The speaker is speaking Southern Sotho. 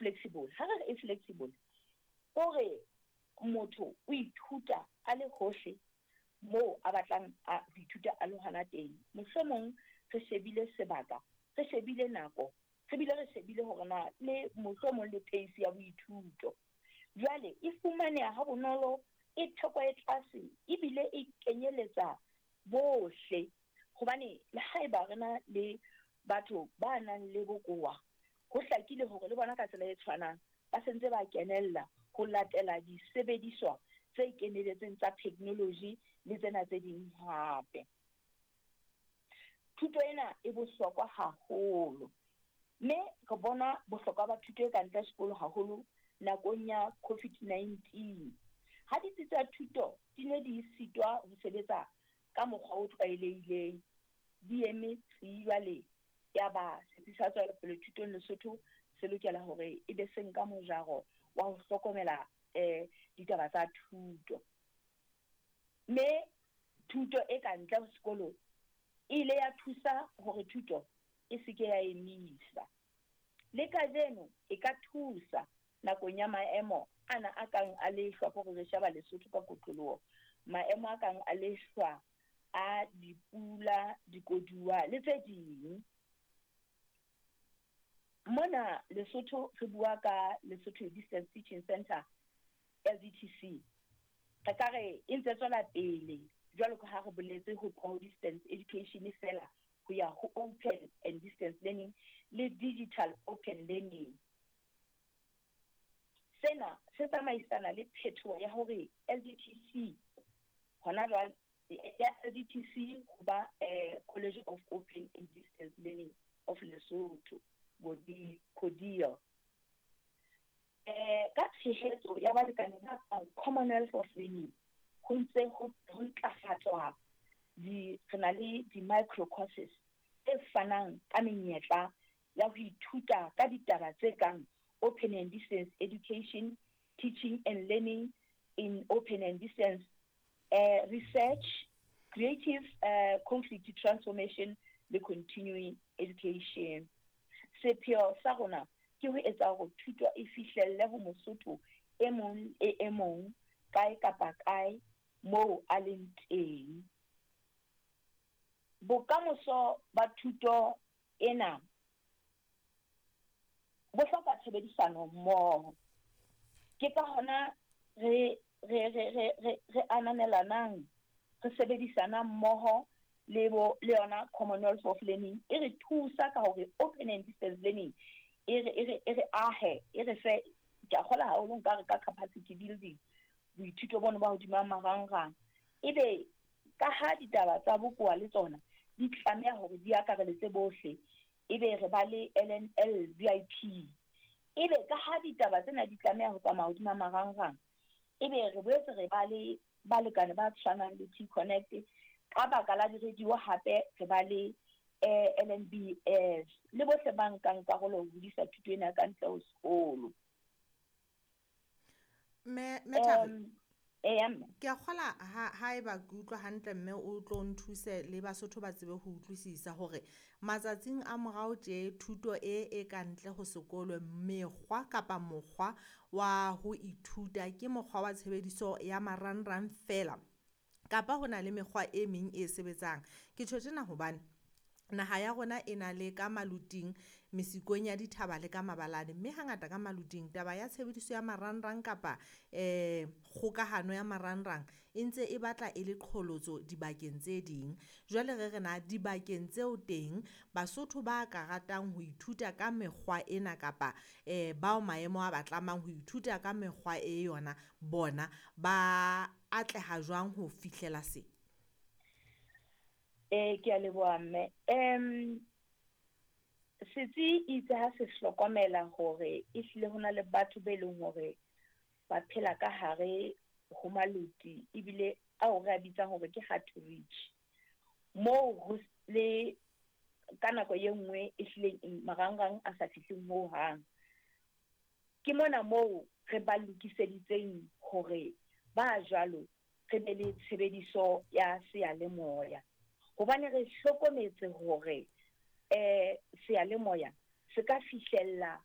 flexible. Ha re re e flexible, ko re motho o ithuta a le hohle moo a batlang a ho ithuta a le hona teng. Mohlomong re shebile sebaka, re shebile nako, re bile re shebile hore na le mohlomong le pace ya boithuto. Jwale e fumaneha ha bonolo, e theko e tlase ebile e kenyeletsa bohle. Hobane le haeba re na le batho ba nang le bokowa, ho hlakile hore le bona ka tsela e tshwanang ba se ntse ba kenella ho latela disebediswa tse keneletseng tsa theknoloji le tsena tse ding hape. Thuto ena e bohlokwa haholo, mme re bona bohlokwa ba thuto e ka ntle sekolo haholo nakong ya COVID-19. Ha ditsi tsa thuto di ne di sitwa ho sebetsa ka mokgwa o tlwaelehileng, di eme tsi jwale ya ba Setsi sa Tswelopele Thutong Lesotho se lokela hore e be se nka mojaro wa ho hlokomela ditaba tsa thuto. Mme thuto e ka ntle ho sekolo e ile ya thusa hore thuto e se ke ya emisa. Le kajeno e ka thusa nakong ya maemo ana a kang a lehlwa, ko re sheba Lesotho ka kotloloho, maemo a kang a lehlwa, a dipula, dikoduwa le tse ding. Mona Lesotho re bua ka Lesotho Distance Teaching Centre, LDTC. Re ka re e ntse tswela pele jwalo ka ha re boletse ho tloha ho distance education fela ho ya ho open and distance learning le digital open learning. Sena se tsamaisana le phetoho ya hore LDTC hona jwale ya LDTC ho ba College of Open and Distance Learning of Lesotho, CODEAL. Ka tshehetso ya balekane ba kang Commonwealth of Learning, ho ntse ho ntlafatswa di re na le di-micro courses tse fanang ka menyetla ya ho ithuta ka ditaba tse kang open and distance education, teaching and learning in open and distance research, creative conflict transformation le continuing education. Sepheo sa rona ke ho etsa hore thuto e fihlelle ho Mosotho e mong le e mong kae kapa kae moo a leng teng. Bokamoso ba thuto ena bo hloka tshebedisano mmoho. Ke ka hona re re re re re re ananelanang, re sebedisanang mmoho le bo le yona Commonwealth of Learning e re thusa ka hore open and distance learning e re e re e re ahe, e re fe, ke a kgola haholo nka re ka capacity building, boithuto bono ba hodima marangrang. Ebe ka ha ditaba tsa bokowa le tsona di tlameha hore di akareletse bohle, ebe re ba le LNL VIP. Ebe ka ha ditaba tsena di tlameha ho tsamaya hodima marangrang, ebe re boetse re ba le balekane ba tshwanang le T-Connect. Ka baka la di-radio hape re ba le LNBS le bohle ba nkang karolo ho hodisa thuto ena ka ntle ho sekolo. Mme Mme Thari, Eya mme. Ke a kgola ha haeba ke utlwa hantle mme o tlo nthuse le Basotho ba tsebe ho utlwisisa hore matsatsing a morao tje thuto e e ka ntle ho sekolo mekgwa kapa mokgwa wa ho ithuta ke mokgwa wa tshebediso ya marangrang fela kapa ho na le mekgwa e meng e sebetsang. Ke tjho tjena hobane naha ya rona e na le ka maluting, mesikong ya dithaba le ka mabalane, mme hangata ka maluting taba ya tshebediso ya marangrang kapa kgokahano ya marangrang e ntse e batla e le qholotso dibakeng tse ding. Jwale re re na dibakeng tseo teng Basotho ba ka ratang ho ithuta ka mekgwa ena kapa bao maemo a ba tlamang ho ithuta ka mekgwa e yona, bona ba atleha jwang ho fihlela se? Ke a leboha mme. Setsi itse ha se hlokomela hore ehlile ho na le batho be leng hore ba phela ka hare ho maluti ebile ao re a bitsang hore ke hard to reach. Moo ho le ka nako e nngwe ehlileng marangrang a sa fihleng ho hang. Ke mona moo re ba lokiseditseng hore ba jwalo re be le tshebediso ya seyalemoya. Hobane re hlokometse hore seyalemoya se ka fihlella